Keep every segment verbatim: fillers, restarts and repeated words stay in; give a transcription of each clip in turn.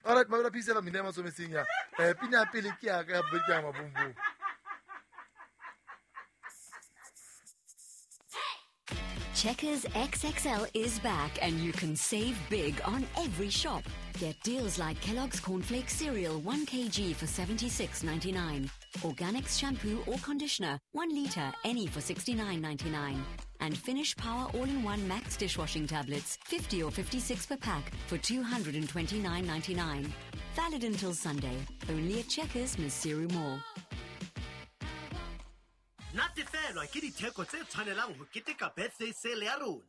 All right, mabela P C F M mina masometseng ya. Eh pina pele ke ya ka bobedi ke ya Mabombom. Checkers X X L is back and you can save big on every shop. Get deals like Kellogg's Cornflakes Cereal one kilogram for seventy-six ninety-nine. Organics shampoo or conditioner one litre any for sixty-nine ninety-nine. And Finish Power All-in-One Max dishwashing tablets fifty or fifty-six per pack for two hundred twenty-nine ninety-nine. Valid until Sunday. Only at Checkers, Maseru Mall. Natefelwa ke ditheko tse tshwanelang ho keteka birthday sale ya rona.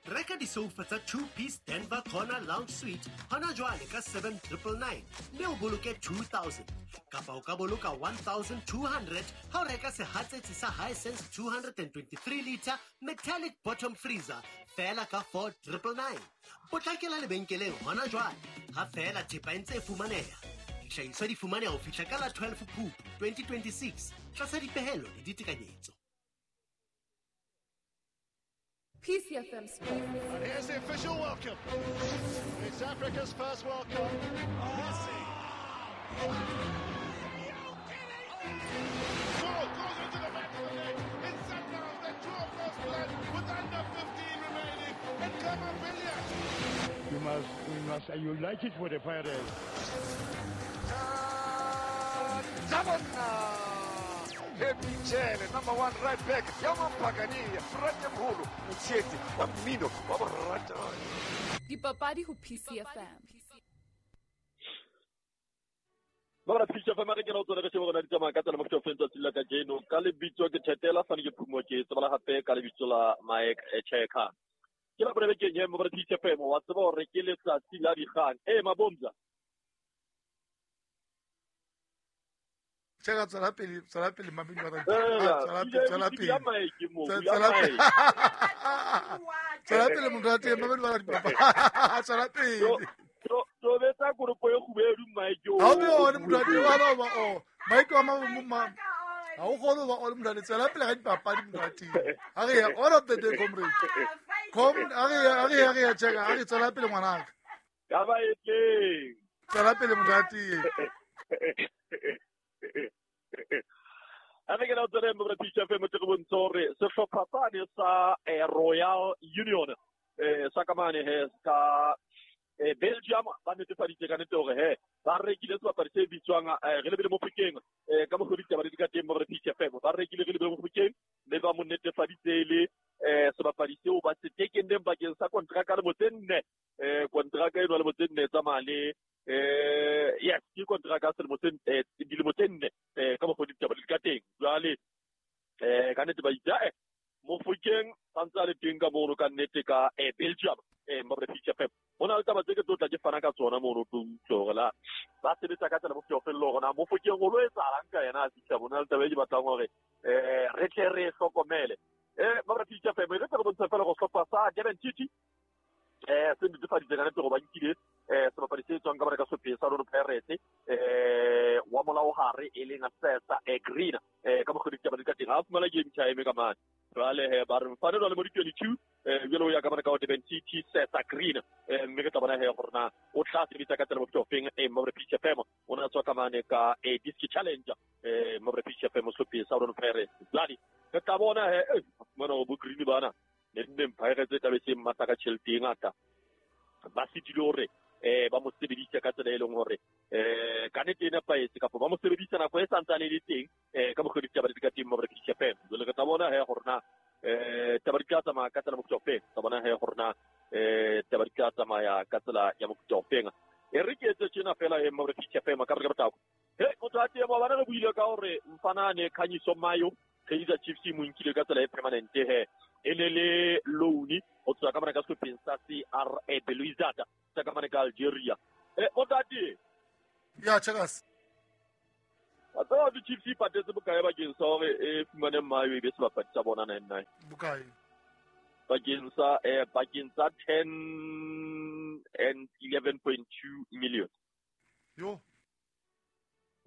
Reka disofa tsa two-piece Denver Corner Lounge Suite hona jwale ka seven triple nine mme o boloke two thousand. Kapa o ka boloka one thousand two hundred ha o reka sehatsetsi sa Hisense two hundred twenty-three liter metallic bottom freezer feela ka four triple nine. Potlakela lebenkeleng hona jwale ha feela thepa e ntse e fumaneha. Dihlahiswa di fumaneha ho fihla ka la twelve Phupu twenty twenty-six tlasa dipehelo le ditekanyetso. P C F M Sports. And here's the official welcome. It's Africa's first World Cup. Messi. Goal goes into the back of the net. It's Sundowns that draw first blood with under fifteen remaining. And Kamavillia. You must, we must, you like it for the Pirates. Happy Jele, number one right back. Yamampagani, Frate Mholo, Motsheti, wa mmino, wa boratani. Dipapadi ho P C F M. Ba P C F M re kena o tsona re shebe rona di tsamaya ka tsela mofto fentsa tsela ka jeno ka lebitso ke Thetela fane ke phumo ke tsebala hape ka lebitso la Mike Cheka. Ke la bone bekeng ye mo P C F M wa tseba hore ke letsatsi la dikgang. Eh Mabomza. Cheka tswela pele, tswela pele mabidi ba tswela pele, tswela pele. Tswela pele. Tswela pele motho wa teng mabidi ba dipapa. Tswela pele. To betsa kopo e kgubedu Mike o. Ha o be one motho wa teng wa ba o. Mike wa ma ha o kgone ba o motho wa tswela pele ga dipapadi motho wa teng. Ha re ya all of the day comrade. Com ha re ha re ha re cheka ha re tswela pele ngwanaka. Ka ba e teng. Tswela pele motho wa teng. A re ke na tsere mo P C F M tle go bontsha hore sehlopha sane sa Royal Union eh sa kamane he ka Belgium ba netefaditse ka nete hore he ba rekile sebapadi se bitswang re lebile Mofokeng ka mokgwa ditaba di ka teng mo P C F M ba rekile re lebile Mofokeng mme ba mo netefaditse le sebapadi seo ba se tekenneng bakeng sa kontraka le motse nne eh kontraka eno le motse nne tsamaya le eh yes ke kontraka selemo se eh dilemo tse nne eh ka mokgwa ditaba di ka teng jwale eh ka nnete ba itse eh Mofokeng santse a le teng ka mono ka nnete ka eh Belgium eh mo P C F M ho na le taba tse ke tlo tla ke fana ka tsona mono tlo utlwa hore la ba sebetsa ka tsela bofelo fello hore na Mofokeng o lo etsahalang ka yena a fihla bona le taba e ke batlang hore eh re tle re hlokomele eh mo P C F M re tla re bontsha fela go hlopha sa Durban City eh se netefaditse ka nnete gore ba nkile eh sebapadi se tswang ka bana ka sepheo sa Orlando Pirates eh wa molao hare e leng Sesa e Green eh ka mokgwa ditaba di ka teng ha fumana game time ka mane jwale he ba re mfanelo le mo di twenty-two eh jwale o ya ka bana ka Durban City Sesa Green eh mme ke tla bona he gore na o tla sebetsa ka tsela bofelo feng eh mo P C F M o na tswa ka mane ka eh Disc Challenge eh mo P C F M sepheo sa Orlando Pirates jwale re tla bona he eh mona bo Green bana ne nne Pirates e tla be se mmata ka tjhelete e ngata ba sitile hore eh ba mo sebedisa ka tsela e leng hore eh ka nnete e nepahetse kapa ba mo sebedisa nako e santsane e le teng eh ka mokgwa ditaba di ka teng mo P C F M jwale re tla bona he gore na eh taba di tla tsamaya ka tsela mofuta ofeng tla bona he gore na eh taba di tla tsamaya ka tsela ya mofuta ofeng e re ke etse tjena fela he mo P C F M ka re ka botako he motho a teng ba re buile ka hore mfanane Khanyiso Mayo Kaizer Chiefs e mo nkile ka tsela e permanent he e ne le loan ho tswa ka mane ka sehlopeng sa C R A Belouizdad sa ka mane ka Algeria eh motate ya checkers wa tseba di Chiefs e patetse bokae bakeng sa hore e fumane Mayo e be sebapadi sa bona nine nine bokae bakeng sa eh bakeng sa ten and eleven point two million yo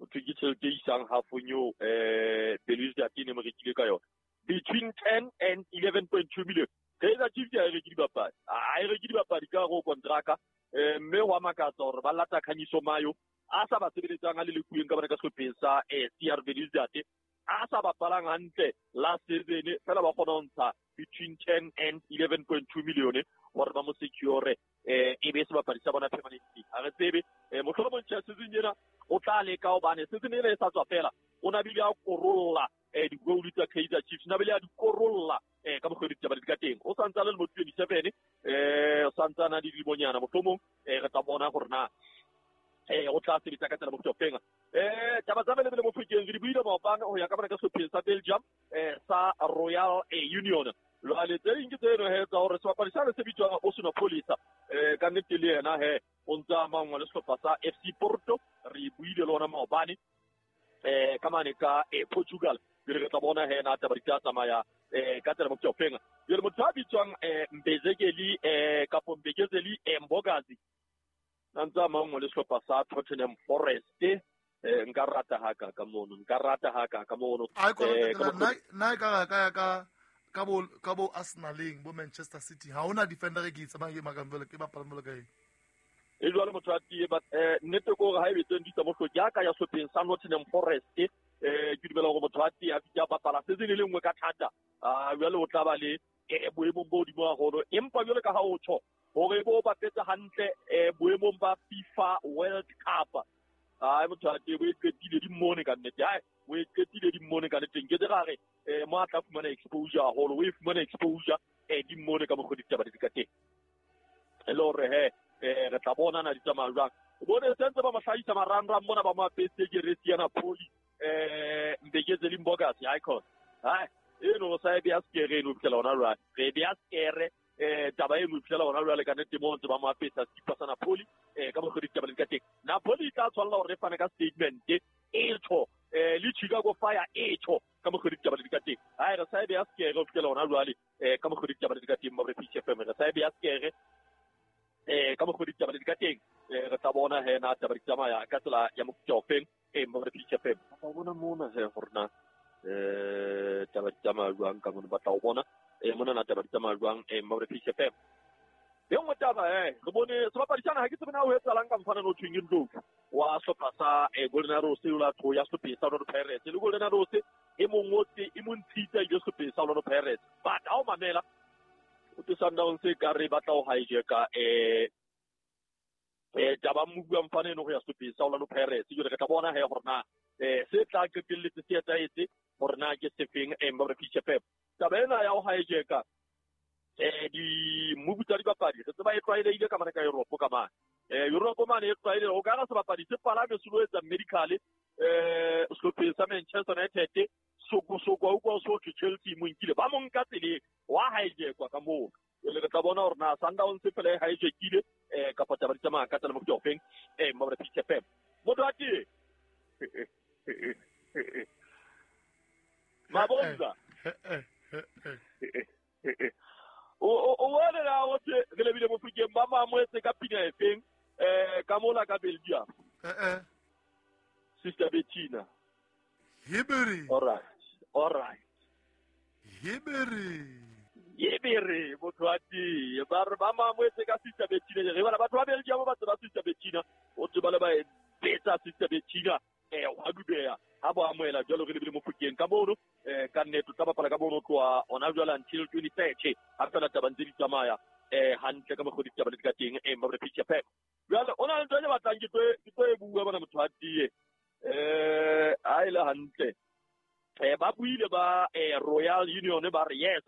o ke tjhelete e isang halfong eo eh Belouizdad e ne mo rekile ka yona between ten and eleven point two million. Kaizer Chiefs ha e reke dibapadi. Ha e reke dibapadi ka hare ho kontraka. Eh mme wa makatsa hore ba lata Khanyiso Mayo a sa ba sebeletsang a le lekueng ka bana ka sehlopheng sa eh C R Belouizdad a sa bapalang hantle last season fela ba kgona ho ntsha between ten and eleven point two million hore ba mo secure eh e be sebapadi sa bona permanently. Ha re tsebe eh mohlomong tjhe season ena o tla leka hobane season ena e sa tswa fela o na bile a korolla eh di-goal tsa Kaizer Chiefs na bile a di korolla eh ka mokgwa ditaba di ka teng o santsa le mo twenty-seven eh o santsa na di dilimonyana mohlomong eh re tla bona hore na eh o tla sebetsa ka tsela mo feng eh taba tsa bele bele mo fekeng re di buile maobane ho ya ka bona ka sehlopheng sa Belgium eh sa Royal Union jwale tse ding ke tseno he tsa hore sebapadi sa se bitswang Osuna Polisa eh ka nnete le yena he o ntsa mangwa le sehlopha sa F C Porto re buile le ona maobane eh ka mane ka eh, Portugal re tla bona he na taba di tla tsamaya eh ka tsela mo feng jwale motho a bitswang eh Mbezekeli eh kapo Mbekezeli Mbokazi ntsa mangwe le sehlopha sa Tottenham Forest eh nka rata ha ka ka mono nka rata ha ka ka mono eh na ka ka ka ka bo ka bo Arsenaleng bo Manchester City ha ona defender e ke tsamaya ke makamvelo ke bapala mo kae e jwale motho a tie but eh nnete ko hore ha e betseng di tsa mohloki ya ka ya sehlopheng sa Nottingham Forest eh ke dumela hore motho a tie a fitla bapala season e le nngwe ka thata a jwale o tla ba le boemong bo hodimo haholo empa jwale ka ha o tjho hore bo bapetse hantle eh boemong ba FIFA World Cup ai motho a tie bo e qetile di mmone ka nnete ai o e qetile di mmone ka nnete nke re re eh mo a tla fumana exposure haholo o e fumana exposure eh di mmone ka mokgwa ditaba di ka teng e le hore he eh re tla bona na di tsamaya jwang o bone sentse ba mahlahisa marangrang mona ba mo apetse jeresi ya Napoli eh Mbekezeli Mbokazi icon hai eno sa e bea skere eno fihlela hona jwale re bea skere eh taba eno fihlela hona jwale ka nnete mo ntse ba mo apesa sekipa sa Napoli eh ka mokgwa ditaba di ka teng Napoli e tla tshwanela hore e fane ka statement e tjho eh le Chicago Fire e tjho ka mokgwa ditaba di ka teng hai re sa e bea skere ho fihlela hona jwale eh ka mokgwa ditaba di ka teng mo re P F M re sa e bea skere eh ka mokgwa ditaba di ka teng eh re tla bona he na taba di tsamaya ka tsela ya mofuta o feng eh mo re P F M ba bona mona he hore na eh taba di tsamaya jwang ka mona ba tla o bona eh mona na taba di tsamaya jwang eh mo re P F M e nngwe taba eh re bone sebapadi sana ha ke tsebe na o etsalang ka mfana no thweng Ndlovu wa sehlopha sa eh Golden Arrows o la tho ya sehlopheng sa Orlando Pirates le Golden Arrows e mongotse e mo ntshitsa ile sehlopheng sa Orlando Pirates but ha o mamela o te Sundowns e ka re batla ho hijacka eh eh taba mmuwa mfana eno go ya sehlopheng sa Orlando Pirates jwale re tla bona he hore na eh se tla qetelletse se etsahetse hore na ke sefeng eh mo re P F M taba ena ya ho hijacka eh di mmubu tsa dipapadi re tseba e tlwaelehile ka mane ka Europe ka mane eh Europe mane e tlwaelehile o ka ra sebapadi se palame se lo etsa medical eh sehlopheng sa Manchester United soko soko a utlwa so thwe Chelsea mo nkile ba mo nka tseleng wa hijackwa ka moo jwale re tla bona hore na Sundowns fela e hijackile eh kapa taba di tsamaya ka tsela mofuta o feng eh mo re P F M motho a tie Mabonza o o wona la o tse re lebile mo fikeng ba mamoetse ka pina e feng eh ka mola ka Belgium eh eh Sister Bettina Hiberi all right all right Hiberi Yebere motho a tie ba re ba mamoetse ka Sister Bettina re bana batho ba Belgium ba tseba Sister Bettina o tseba le ba e betsa Sister Bettina eh wa dubeya ha bo amoela jwalo re lebile mo fokeng ka mono eh ka nnete tla bapala ka mono tloa ona jwale until twenty thirty ha fela taba ntse di tsamaya eh hantle ka mokgwa ditaba di ka teng eh mo re P F M jwale ona le ntho e batlang ke tlo ke tlo e bua bana motho a tie eh ha ile hantle eh ba buile ba eh Royal Union ba re yes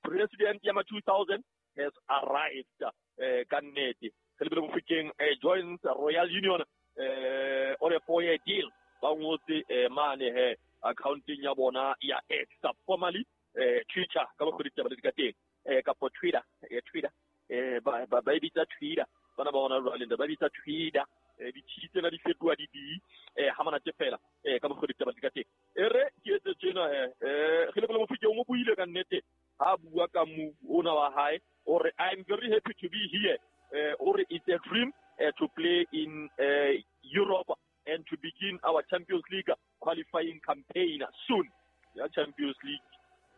president ya ma two thousand has arrived eh ka nnete re lebile mo fokeng eh joins Royal Union eh on a four year deal ba ngotse eh mane he accounting ya bona ya X formerly eh Twitter ka mokgwa ditaba di ka teng eh kapo Twitter eh Twitter eh ba ba ba bitsa Twitter bana ba bona jwale ba bitsa Twitter eh di tsena di fetoha di di eh ha mana fela eh ka mokgwa ditaba di ka teng e re ke etse tjena he eh re le mo fikeng o buile ka nnete ha bua ka move ona wa hae o re I'm very happy to be here eh o re it's a dream uh, to play in uh, Europe and to begin our Champions League qualifying campaign soon. Yeah, Champions League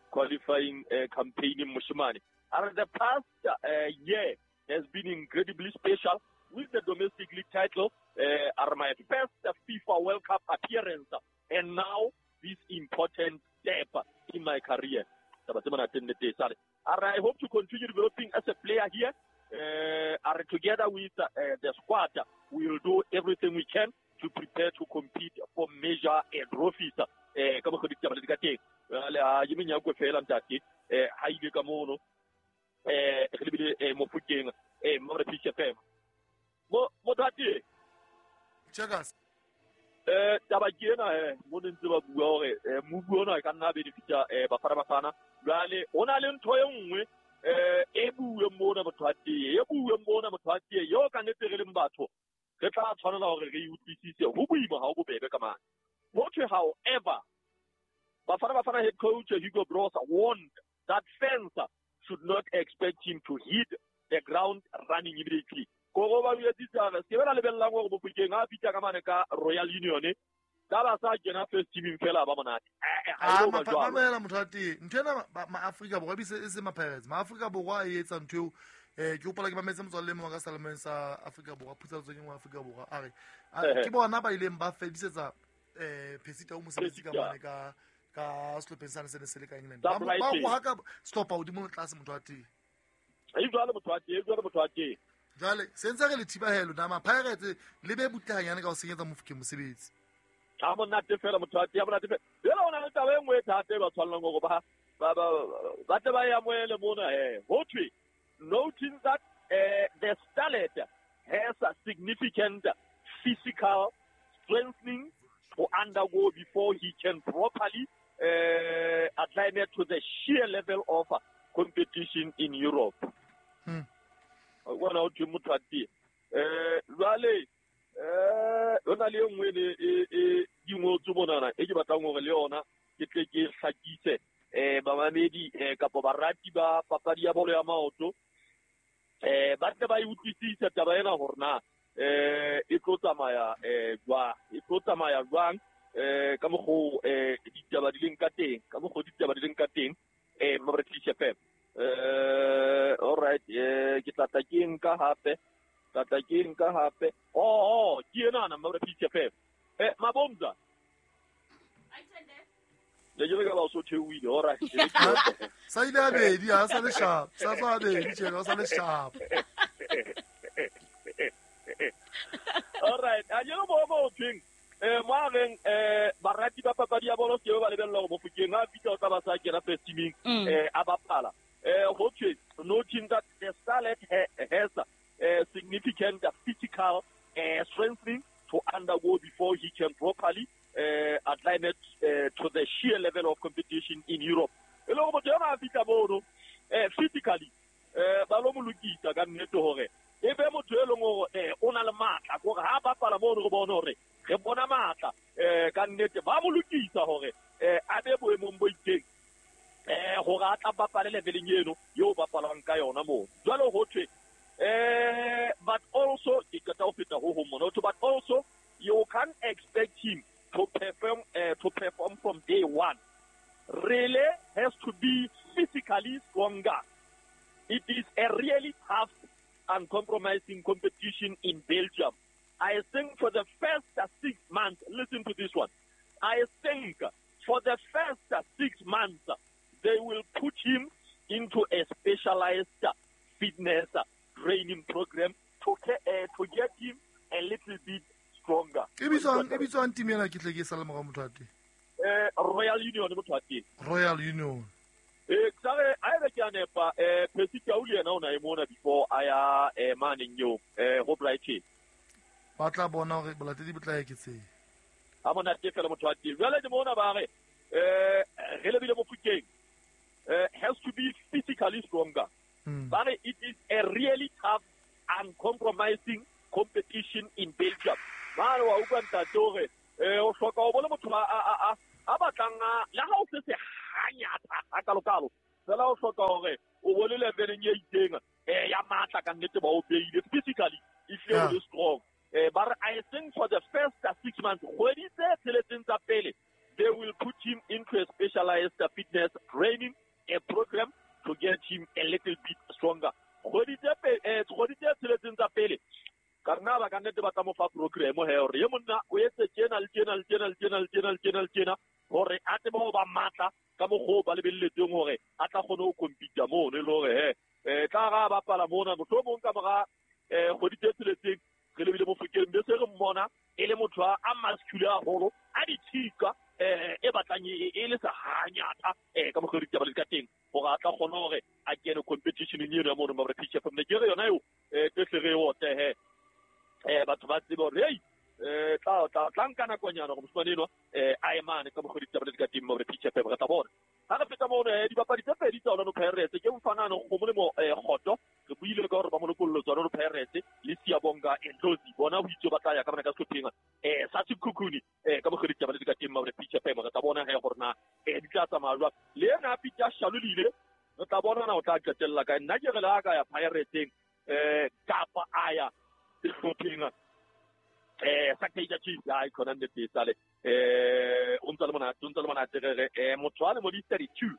qualifying uh, campaign in Moshimane. And the past uh, year has been incredibly special. with the domestic league title, uh, are my first FIFA World Cup appearance, and now this important step in my career. I hope to continue developing as a player here. Uh, are together with uh, the squad, we will do everything we can to prepare to compete for major uh, trophies. Eh, ka mokgwa ditaba le di ka teng. Jwale, ha ke menyako fela ntate, eh, ha ile ka mono, eh, re lebile, eh, Mofokeng, eh, mo re P C F M. Mo, mothati. Checkers. Eh, taba ke ena, eh, mo ne ntse ba bua hore, eh, mobu ona e ka nna benefita, eh, Bafana Bafana. Jwale, ho na le ntho e nngwe, eh, e buuweng mona motho wa teye, e buuweng mona motho wa teye, eo ka nnete re leng batho, re tla tshwanela hore re e utlwisise. Ho boima ha ho bobebe ka mane. Ho thwe, however, Bafana Bafana head coach Hugo Broos warned that fans should not expect him to hit the ground running immediately. Koro ba jwetsitse hore se ke ba lebellang hore Mofokeng ha fihla ka mane ka Royal Union, ka ba sa kena first team fela ba monate. Eh, eh, ha Ah, e no ba ma- jwalo. mamela motho wa teng. Ntho ena ma- ma-Afrika Borwa ebile e se ma-Pirates. Ma-Afrika Borwa a e etsa ntho eo. Eh, ke hopola ke mametse motswalle e mong wa ka selemeng sa Afrika Borwa, Phutsa Letsweng wa Afrika Borwa, a re, a, Ehe. ke bona ba ileng ba fedisetsa, eh, Percy Tau mosebetsi ka Percy Tau. mane ka, ka sehlopheng sane se ne se le ka England. Sa Ba mo-, ba Brighton. rohaka sehlopha hodimo le tlase motho wa teng. E jwalo motho wa teng, e jwalo motho wa teng. Jwale, se ntse re le thibahelo na ma-Pirates le be butle hanyane ka ho senyetsa Mofokeng mosebetsi. Ha monate fela motho wa teng, ha monate fela. Jwale ho na le taba e nngwe e thata e ba tshwanelang hore ba, ba, ba, ba tle ba e amohele mona, eh. Ho thwe, noting that, eh, the starlet has a significant physical strengthening to undergo before he can properly, eh, acclimate to the sheer level of competition in Europe. Hmm. Bona ho thwe motho wa teng. Eh, jwale, eh, ho na le e nngwe e, e, e di ngotswe monana, e ke batlang hore le yona ke tle ke hlakise, eh, bamamedi, eh, kapa barati ba papadi ya bolo ya maoto, eh, ba tle ba e utlwisise taba ena hore na, eh, e tlo tsamaya, eh, jwang, e tlo tsamaya jwang, eh, ka mokgo, eh, ditaba di leng ka teng, ka mokgo ditaba di leng ka teng, eh, mo re P C F M. Eh, all right, eh, ke tla tla ke nka hape, tla tla ke nka hape. Oh, oh, ke ena na mo re P C F M. Eh, Mabomza. Le jele ka ba o so theohile, all right. Sa ile a bedi, ha sa le sharp. Sa tswa a bedi, tjhe, ha sa le sharp. All right, a jele mo mo thweng, eh, mo a reng, eh, barati ba papadi ya bolo ke ba lebella hore Mofokeng ha fihla o tla ba sa kena first teaming, Mm. eh, a bapala. Eh, ho thwe, noting that the starlet ha-, has a significant physical, eh, strengthening to undergo before he can properly, eh, acclimate, eh, to the sheer level of competition in Europe. E le hore motho enwa a fihla mono, eh, physically, eh, ba lo mo lokisa ka nnete hore e be motho e leng hore, eh, o na le matla, kore ha bapala mono re bone hore re bona matla, eh, ka nnete ba mo lokisa hore, eh, a be boemong bo itseng, eh, hore a tla bapale leveleng eno eo bapalwang ka yona moo. Jwale ho thwe, eh, but also, ke qeta ho feta ho hong mona, ho thwe, but also you can't expect him to perform, eh, to perform from day one. Rele has to be physically stronger. It is a really tough and compromising competition in Belgium. I think for the first six months, listen to this one. I think for the first six months, they will put him into a specialized fitness training program to, uh, to get him a little bit stronger. E bitswang, e bitswang team ena ke tle ke sale morao motho wa teng? Eh, Royal Union motho wa teng. Royal Union. Eh, tsare a ebe ke a nepa, eh, Percy Tau le yena o na e mona before a ya, eh, maneng eo, eh, ho Brighton. Ba tla bona hore bolatedi bo tla eketseha. Ha monate fela motho wa teng. Jwale ke mona ba re, eh, re lebile Mofokeng, eh, has to be physically stronger. Hmm. Ba re it is a really tough and compromising competition in Belgium. Ba re wa utlwa ntate hore, eh, o hloka ho bona motho a, a, a, a, a batlang a, le ha o se se hanyata hakalokalo, fela o hloka hore o bone leveleng e itseng, eh, ya matla ka nnete ba o beile physically, e hlile o Yeah. le strong. Eh, ba re I think for the first six months, kgwedi tse tsheletseng tsa pele, they will put him into a specialized fitness training a program to get him a little bit stronger. Kgwedi tse pe-, eh, kgwedi tse tsheletseng tsa pele, tla ba ka nnete ba tla mo fa program he hore ye monna o etse tjena le tjena le tjena le tjena le tjena le tjena le tjena hore a tsebe ho ba matla ka mokgwa o ba lebelletseng hore a tla kgone ho compete mono e le hore he eh tla ga bapala mona mohlomong ka mora eh kgwedi tse tsheletseng re lebile Mofokeng be se re mmona e le motho a muscular haholo a ditshika eh e batlang e le sa hanyata eh ka mokgwa ditaba le ka teng hore a tla kgona hore a kene competition eno ya mono mabra P C F M ne ke re yona eo eh tse re ote he eh batho ba tsebe hore hey eh tla tla tla nka nakonyana gore mosimane enwa eh a emane ka mokgwa ditaba le ka teng mabra P C F M re tla bona ha re feta mono eh dibapadi tse pedi tsa Orlando Pirates ke mfanana go molemo eh Kgoto re buile ka hore ba mo lokollo tsa Orlando Pirates le Siyabonga Ndlozi bona ho itse ba tla ya ka bana ka sehlopheng eh sa Sekhukhune eh ka mokgwa ditaba le ka teng mabra P C F M re tla bona he gore na eh di tla tsamaya jwang le yena Peter Shalulile re tla bona na o tla qetella kae nna ke re le ha ka ya Pirateseng eh kapa a ya sehlopheng eh sa Kaizer Chiefs ai khona nnete sale eh o ntse le monate o ntse le monate re re eh motho a le mo di thirty-two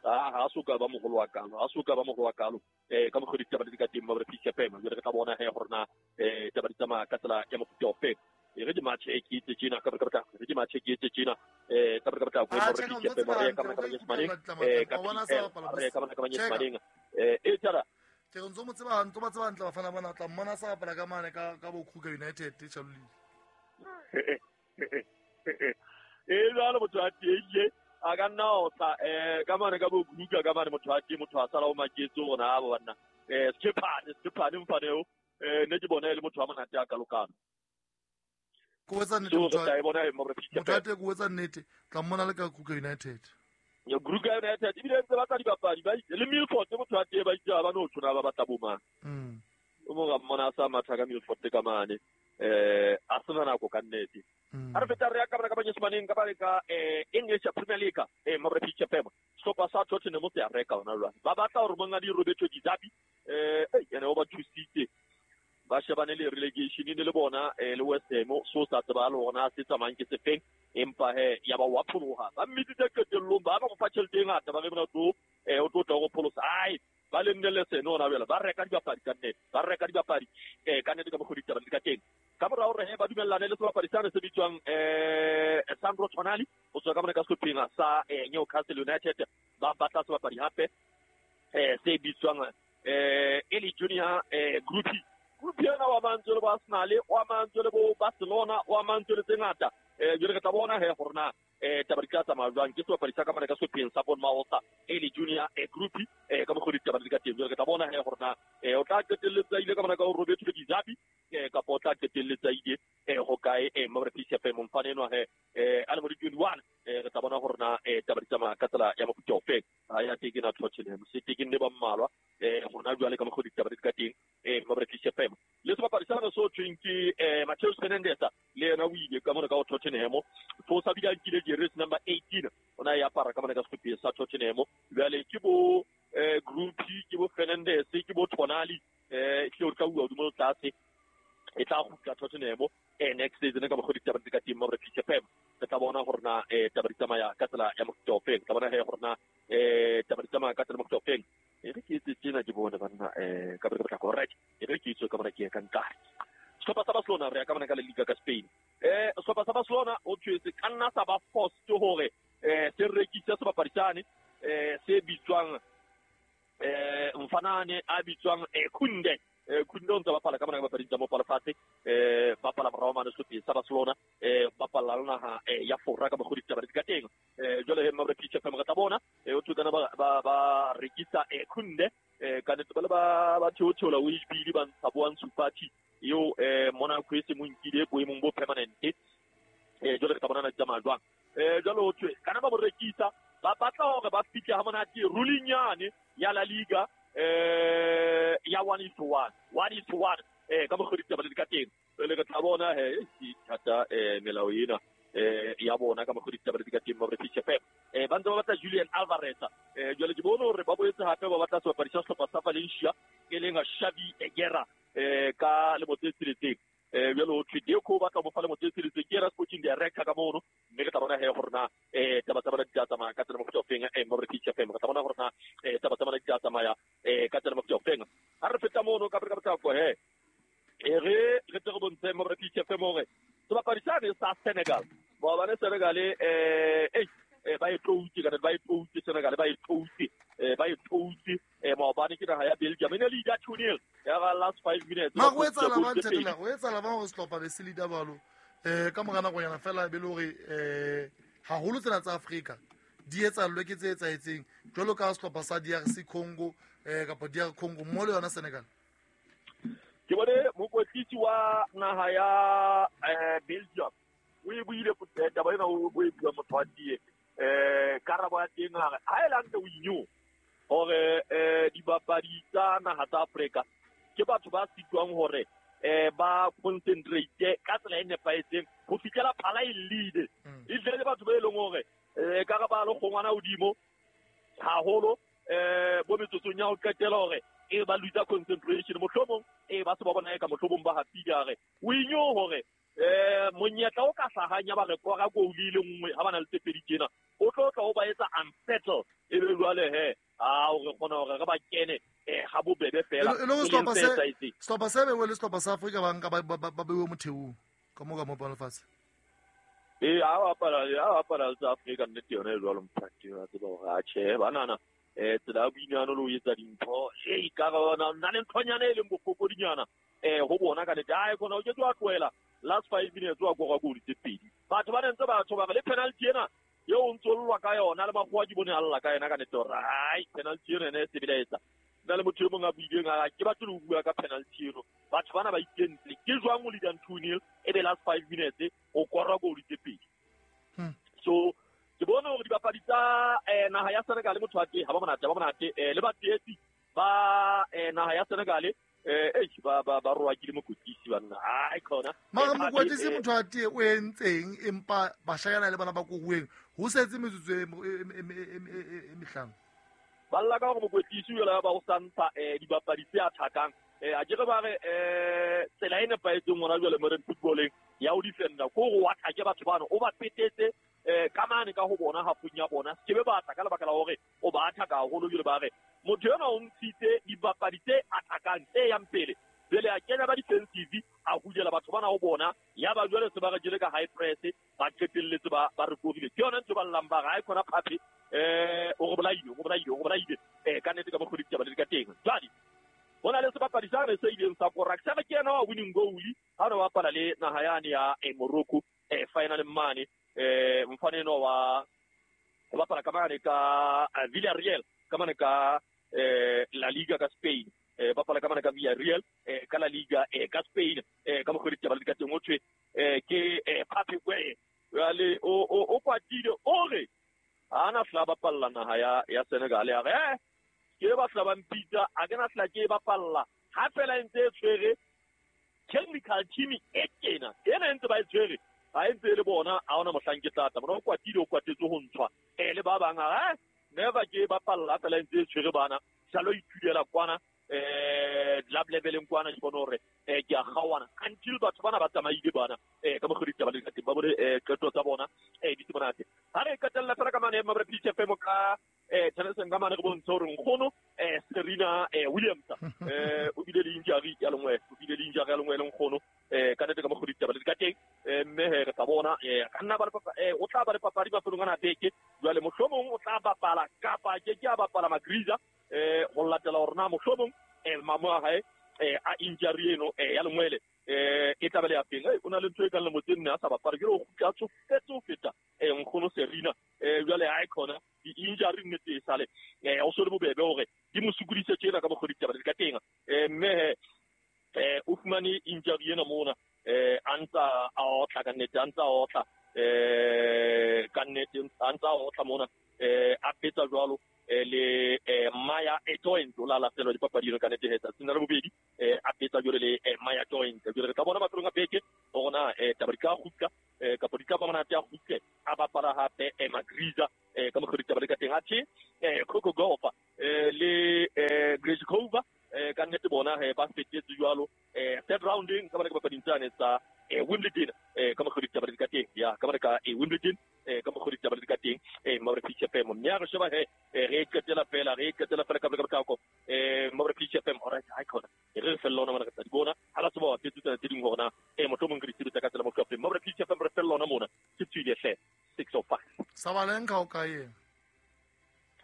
ah ha so ka ba mogolo wa kalo ha so ka ba mogolo wa kalo eh ka mokgwa ditaba di ka teng mabra P C F M jwale re tla bona he gore na eh taba di tsamaya ka tsela ya mofuta ofe e re di match e ke itse tjena ka ka re di match e ke itse tjena eh ka ka ka go Ah, mabra check P C F M re ka ka manyesemaneng eh ka re ka ka manyesemaneng eh e tsara Ke ntse mo tseba ntse ba tseba hantle bafana bana tla mmona sa bapala ka mane ka ka bo Kruger United Shalulile. E jwalo motho a teng a ka nna o tla eh ka mane ka bo Kruger ka mane motho a teng motho a sala o maketse hore na ba banna eh Skephane Skephane mfane eo eh ne ke bona e le motho wa monate a kalokalo Ko etsa nnete so motho re tla e bona e mabra P C F motho a teng ko etsa nnete tla mmona le ka Kruger United. Ya Kruger United ebile ntse ba tla dibapadi ba le Milford motho a teng ba itse ba no tshwana ba batla bo mang Mm. o mo ga mmona a sa matha ka Milford ka mane eh a sena nako ka nnete Mm. ha re feta re ya ka bana ka banyesemaneng ka ba ka eh English Premier League eh mabra P C F M sehlopha sa Tottenham se a reka hona jwale ba batla hore mongadi Roberto Di Zerbi eh ene o ba thusitse ba shebane le relegation ne le bona eh le West Ham so sa tseba le hore se tsamayang ke sefeng empa he ya ba wa pholoha ba mmitsitse qetellong ba ba mo fa tjhelete e ngata ba re mona tlo eh o tlo tla go pholosa ai ba le nne le seno hona jwale ba reka dibapadi ka nnete ba reka dibapadi eh ka nnete ka mokgwa ditaba di ka teng ka mora hore he ba dumellane le sebapadi sane se bitswang eh Sandro Tonali ho tswa ka mona ka sehlopheng sa eh Newcastle United ba batla sebapadi hape eh se bitswang eh Eli Junior eh Group Group yena wa mantswe le bo Arsenal wa mantswe le bo Barcelona wa mantswe le tse ngata eh jwale re tla bona he gore na eh taba di tla tsamaya jwang ke sebapadi sa ka mona ka sehlopheng sa Bournemouth Eli Junior eh Group eh ka mokgwa ditaba di ka teng jwale re tla bona he gore na eh o tla qetelletsa ile ka mona ka ho Roberto Di Zerbi eh kapa o tla qetelletsa ile eh ho kae eh mabra P C F M mfane enwa he eh a le mo di twenty-one eh re tla bona gore na eh taba di tsamaya ka tsela ya mofuta ofe ha ya teke na Tottenham se teke ne ba mmalwa eh hona jwale ka mokgwa ditaba di ka teng eh mabra P C F M le sebapadi sa so thweng ke eh Matheus Fernandes le yena o ile ka mona ka ho Tottenham fo sa bile a nkile jersey number eighteen ona ya apara ka mona ka sehlopha sa Tottenham jwale ke bo eh Group ke bo Fernandes ke bo Tonali eh ke o tla bua hodimo le tlase e tla kgutla Tottenham eh next season ka mokgwa ditaba di ka teng mabra P C F M re tla bona hore na eh taba di tsamaya ka tsela ya mofuta ofe re tla bona he hore na eh taba di tsamaya ka tsela ya mofuta ofe e re ke itse tjena ke bone banna eh ka baka tla correct e re ke itse ka mona ke ya ka nkare sehlopha sa Barcelona re ya ka mona ka la Liga ka Spain eh sehlopha sa Barcelona o tshwetse ka nna sa ba forced hore eh se rekise sebapadi sane eh se bitswang eh mfanane a bitswang eh Kunde eh Kunde o ntse bapala ka mona ka bapading tsa mo palafatshe eh bapala morao mane sehlopheng sa Barcelona eh bapala le naha eh ya Fora ka mokgwa ditaba di ka teng eh jwale he mabra P C F M re tla bona eh o thukana ba ba ba rekisa eh Kunde eh ka nnete ba le ba ba theotheola o ibile ba ntsha bo Ansu Fati eo eh Monaco e se mo nkile boemong bo permanent eh jwale re tla bona na di tsamaya jwang eh jwale ho thwe kana ba mo rekisa ba batla hore ba fihle ha monate ruling yane ya La Liga eh ya one is to one one is to one eh ka mokgwa ditaba di ka teng le re tla bona he e thata eh melao ena eh ya bona ka mokgwa ditaba di ka teng mabra P C F M eh ba ntse ba batla Julian Alvarez eh jwale ke bone hore ba boetse hape ba batla sebapadi sa sehlopha sa Valencia e leng Xavi Guerra eh ka lemo tse tsheletseng eh jwale ho thwe Deco ba tla mo fa lemo tse tsheletseng ke yena sporting director ka mono mme re tla bona he hore na eh taba tsa bona di tla tsamaya ka tsela mofuta ofeng eh mabra P C F M re tla bona hore na eh taba tsa bona di tla tsamaya eh ka tsela mofuta ofeng ha re feta mono ka ka botlako he e re re tle re bontshe bontshe mo re P F M hore sebapadi sane sa Senegal maobane Senegal eh eh ba e tloutse ka ba e tloutse Senegal ba e tloutse eh ba e tloutse eh maobane ke naha ya Belgium e ne leader two nil ya ba last five minutes ma go etsahala ba ntshela go etsahala ba go sehlopha be se leader balo eh ka mora nako yana fela be le hore eh haholo tsena tsa Afrika di etsallwe ke tse etsaetseng jwalo ka sehlopha sa D R C Congo eh kapa D R Congo mo le yona Senegal. Ke bone mokwetlisi wa naha ya eh Belgium o e buile taba ena o e bua motho wa tie eh karabo ya teng hare ha e lante o inyo hore eh dibapadi tsa naha tsa Afrika ke batho ba sitwang hore eh ba concentrate ka tsela e nepahetseng ho fihlela phala e lead e tle batho ba e leng hore eh ka ba lo kgongwana hodimo haholo eh bo metsotsong ya ho qetela hore e ba lose concentration mohlomong e ba se ba bona e ka mohlomong ba hapile hare o inyo hore eh monyetla o ka hlahang ya ba re kora goal ile nngwe ha bana le tse pedi tjena o tlo tla o ba etsa unsettle e be jwale he a o re kgona hore re ba kene eh ha bobebe fela e le sehlopha se sehlopha se be le sehlopha sa Afrika ba nka ba bewe motheong ka mo ka mo palo fatshe e a bapala a bapala tsa Afrika nnete yona e jwalo mphati wa tseba hore a tjhe banana eh tsela boinyano le ho etsa dintho e ka bona nna le nthonyana e leng bofokodinyana eh ho bona ka nete a e khona o ke tswa tlohela last five minutes wa kora goal tse pedi batho ba ntse batho ba le penalty ena eo o ntso llwa ka yona le makgowa ke bone a lla ka yena ka nete hore ai penalty ena ene e sebela etsa nna le motho e mong a buileng a ke batho le ho bua ka penalty eno batho bana ba ikentse ke jwang o leadang two nil e be last five minutes o kora goal tse pedi. So ke bone hore dibapadi tsa eh naha ya Senegal motho wa teng ha ba monate ba monate eh le batshehetsi ba eh naha ya Senegal eh eh ba ba ba roa ke le mokwetlisi banna ai khona mara mokwetlisi motho wa teng o entseng empa bashanyana le bana ba koruweng ho setse metsotso e e mehlano ba lla ka hore mokwetlisi o la ba o santa eh dibapadi tse athakang eh a ke re ba re eh tsela e nepahetseng hona jwale mo re footballeng ya o defender ko go wa athake batho bano o ba petetse eh ka mane ka ho bona hafung ya bona ke be batla ka lebaka la hore o ba athaka haholo jwale ba re motho yona o ntshitse dibapadi tse athakang tse yang pele jwale a kena ba defensive a hudela batho bana ho bona ya ba jwale se ba re jele ka high press ba qetelletse ba ba re korile ke yona ntho ba llang ba re ha e khona phape eh o re bolaile o re bolaile o re bolaile eh ka nnete ka mokgwa ditaba le ka teng jwale bona le sebapadi sa re se ileng sa kora ke sa ke yena wa winning goal ha re bapala le naha yane ya Morocco eh final mane eh mfane no wa o bapala ka mane ka Villarreal ka mane ka eh La Liga ka Spain eh bapala ka mane ka Villarreal eh ka La Liga eh ka Spain eh ka mokgwa ditaba le ka teng o thwe eh ke eh Pape Gueye jwale o o kwatile o re ana fla bapalla naha ya ya Senegal ya re eh ke ba tla ba mpitsa a ke na tla ke bapalla ha fela ntse e tshwere technical team e kena ena ntse ba e tshwere ha ntse le bona a ona mohlang ke tlatla bona o kwatile o kwatetse ho ntshwa eh le ba bang ha never ke bapalla fela ntse e tshwere bana salo ithudela kwana eh club leveleng kwana ke bona hore eh ke a kgawana until batho bana ba tsamaile bana eh ka mokgwa ditaba le ka teng ba bone eh qeto tsa bona eh di monate ha re qetella fela ka mane Mabra P F M ka eh tshwanetse ka mane re bontshe hore nkgono eh Serena eh Williams eh o bile le injury ya lengwe o bile le injury ya lengwe le nkgono eh ka nete ka mokgwa ditaba le ka teng eh mme re tla bona eh ka nna ba le eh o tla ba le papadi ba felong ana beke jwale mohlomong o tla bapala kapa ke ke a bapala Magriza eh ho latela hore na mohlomong eh mamo a hae eh a injury eno eh ya lengwele eh e tla ba le ya peng o na le ntho e kang le motse nne a sa bapala ke re o kgutla tsofetse ho feta eh nkgono Serena eh jwale ha e khona di injury nnete e sale eh o so le bobebe hore di mo sokodise tjena ka mokgwa ditaba le ka teng eh mme eh o fumane injury ena mona eh a ntsa a otla ka nnete a ntsa a otla eh ka nnete a ntsa a otla mona eh a petsa jwalo le Maya Joint o la latela dipapadi ka nete hetsa tsena le bobedi eh a petsa jwale le Maya Joint jwale re tla bona mafelong a beke hore na eh taba di ka kgutla eh kapa di ka ba monate a kgutle a bapala hape eh Magriza eh ka mokgwa ditaba le ka teng athe eh Coco Gauff eh le eh Grishkova eh ka nnete bona he ba fetetse jwalo eh third rounding ka bana ka papading tsane tsa eh Wimbledon eh ka mokgwa ditaba le ka teng ya ka bana ka eh Wimbledon eh ka mokgwa ditaba le ka teng eh Mabra P F M mme a re sheba he re qetela fela re qetela fela ka ka ka eh Mabra P F M alright ha khona re re fella ona mara ka di bona ha la tseba wa fetsa tse ding hore na eh motho Sabalenka o kae yena?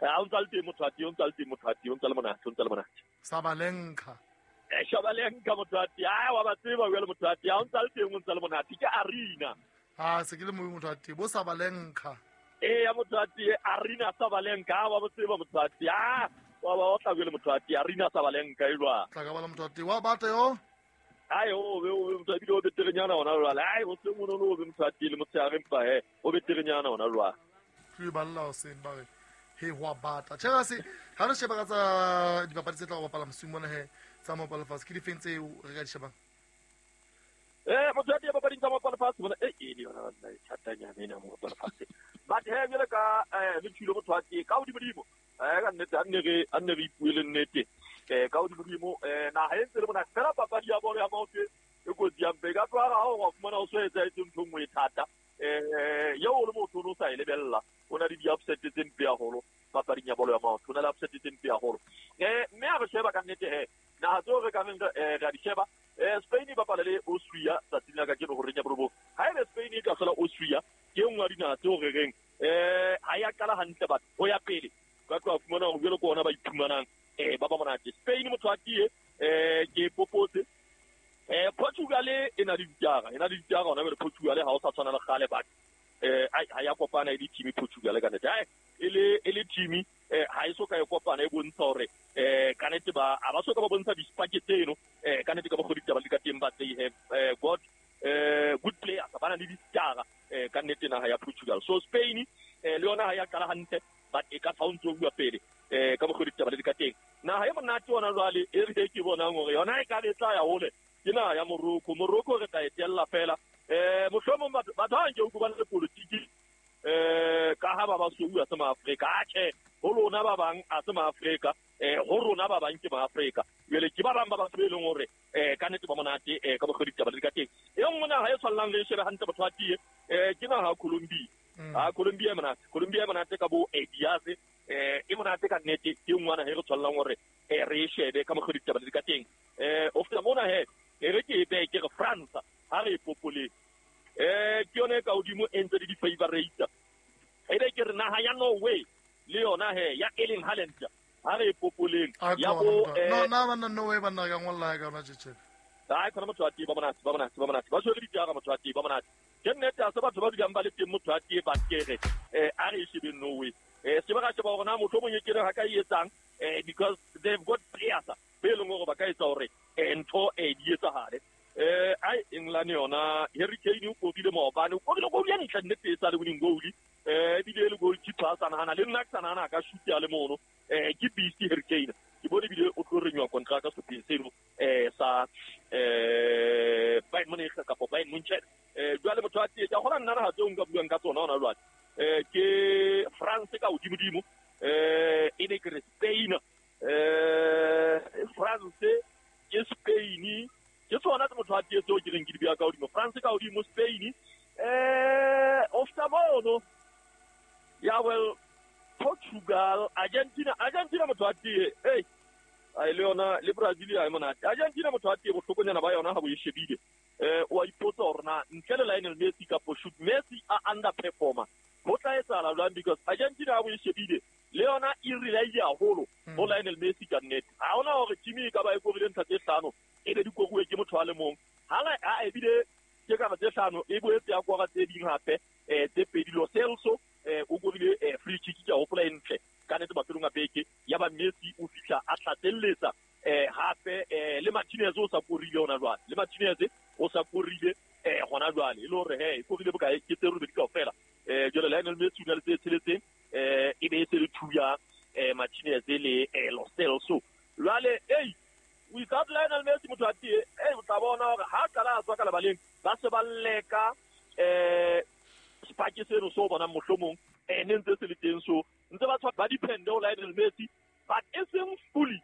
Ha o ntsa le teng motho a teng, o ntsa le teng motho a teng, o ntsa le monate, o ntsa le monate. Sabalenka. Eh Sabalenka motho a teng. Ah wa ba tseba jwale motho a teng. Ha o ntsa le teng, o ntsa le monate. Ke Arina. Ah se ke le moe motho a teng, bo Sabalenka. Eh ya motho a teng, Arina Sabalenka, wa ba tseba motho a teng. Ah wa ba o tla jwale motho a teng, Arina Sabalenka e jwa. Tla ka bala motho a teng. Wa bata yo? Ai o be o be motho a bile o beterenyana hona jwale. Ai o se mono o be motho a teng le motshehare empa he o beterenyana hona jwale. Ke balla o seng ba re he hwa bata. Tjhe se ha re sheba ka tsa dipapadi tse tla go bapala mosing mona he tsa mopalo fatshe ke difeng tseo re ka di shebang? Eh motho a teng papading tsa mopalo fatshe bona eh e le yona nna e thatanyana ena mopalo fatshe. But he jwale ka eh le tshilo motho a teng ka hodimo eh ka nnete a nne re a nne re ipuele nnete. Eh ka hodimo eh naha e ntse le bona fela papadi ya bolo ya maoto e kotsi ya mpe ka tloha ha o fumana o so etsa etse ntho nngwe e thata eh eo le motho o sa e lebella o na le di-upset tse mpe haholo papading ya bolo ya maoto, o na le upset tse mpe haholo. Eh mme ha re sheba ka nnete he naha tseo re ka reng re a di sheba eh Spain e bapala le Austria tsatsing la kajeno horeng ya borobong. Ha ebe Spain e ka hlola Austria ke e nngwe ya dinaha tseo re reng eh ha ya qala hantle batho ho ya pele ka tloha fumana hore jwalo ke ona ba iphumanang eh ba ba monate. Spain motho a tie eh ke popotse eh Portugal e na le ditara e na le ditara hona jwale Portugal ha o sa tshwana le kgale batho eh ha ya kopana e le team Portugal ka nnete e le e le team eh ha e so ka e kopana e bontsha hore eh ka nnete ba a ba so ka ba bontsha dispake tseno eh ka nnete ka ba goditaba le ka teng ba they have eh got eh good players ba na le ditara eh ka nnete naha ya Portugal. So Spain eh le yona ha ya qala hantle but e ka fa o ntso bua pele eh ka bogoditaba le ka teng. Naha e monate ona jwale e re ke bonang hore yona e ka be tla ya hole ke naha ya Morocco. Morocco re tla e tella fela eh mohlomong batho batho ha nke o bana le politiki eh ka ha ba ba sou a se maAfrika atjhe ho lona ba bang a se maAfrika eh ho rona ba bang ke maAfrika jwale ke ba bang ba batho be leng hore eh ka nnete ba monate eh ka bogoditaba le ka teng. E nngwe naha e tshwanang le shebe hantle batho ba tie eh ke naha ya Colombia. Ah Colombia e monate, Colombia e monate ka bo Diaz eh e monate ka nnete ke nngwe naha e re tshwanang hore eh re e shebe ka bogoditaba le ka teng. Eh o feta mona he e re ke e behe ke re France ha re e popole eh ke yone ka hodimo e ntse le di-favorite e be ke re naha ya Norway le yona he ya Erling Haaland ha re e popoleng ya bo no na bana Norway bana ka ngolla ka yona tjhe. Ai khona motho a teng ba monate ba monate ba monate ba tshwere ditara motho a teng ba monate ke nnete a se batho ba dulang ba le teng motho a teng ba kere eh a re e shebe Norway eh se ba ka sheba hore na motho o mong e kere ha ka e etsang eh because they've got players be leng hore ba ka etsa hore ntho e di etsahale. Eh ai England yona Harry Kane o korile maobane o korile goal ya ntle nnete e sa le winning goal eh ebile le goalkeeper a sa nahana le nna ke sa nahana ka shoot ya le mono eh ke beast Harry Kane ke bone ebile o tlo renywa contract sehlopheng seno eh sa eh Bayern Munich kapa Bayern Munich eh jwale motho a teng ka gona nna ha tseo nka buang ka tsona hona jwale eh ke France ka hodimo-dimo eh e ne ke re Spain eh France ke Spain ke tsona tse motho a teng tseo ke reng ke di bua ka hodimo France ka hodimo Spain eh ofta mono ya well Portugal Argentina Argentina motho a teng hey ai le yona le Brazil ai monate Argentina motho a teng bohlokonyana ba yona ha bo e shebile eh o a ipotsa hore na ntle le Lionel Messi kapo shoot Messi a underperformer ho tla etsahala jwang because Argentina ha bo e shebile le yona e rely haholo ho Lionel Messi ka nnete ha hona hore team e ka ba e korile ntlha tse hlano e be di koruwe ke motho a le mong ha la a ebile ke ka tse hlano e boetse ya kora tse ding hape eh tse pedi Lo Celso eh o korile free kick ke a hopola e ntle ka nnete mafelong a beke ya ba Messi o fihla a tlatselletsa eh hape eh le Martinez o sa korile hona jwale le Martinez o sa korile eh hona jwale e le hore he e korile bokae ke tse robedi kaofela eh jwale Lionel Messi o na le tse tsheletseng eh e be e se le two ya eh Martinez le eh Lo Celso jwale ei without Lionel Messi motho a teng eh o tla bona hore ha qala a tswa ka lebaleng ba se ba leka eh sepake seno so bonang mohlomong eh ne ntse se le teng so ntse ba tshwa ba depende ho Lionel Messi but e seng fully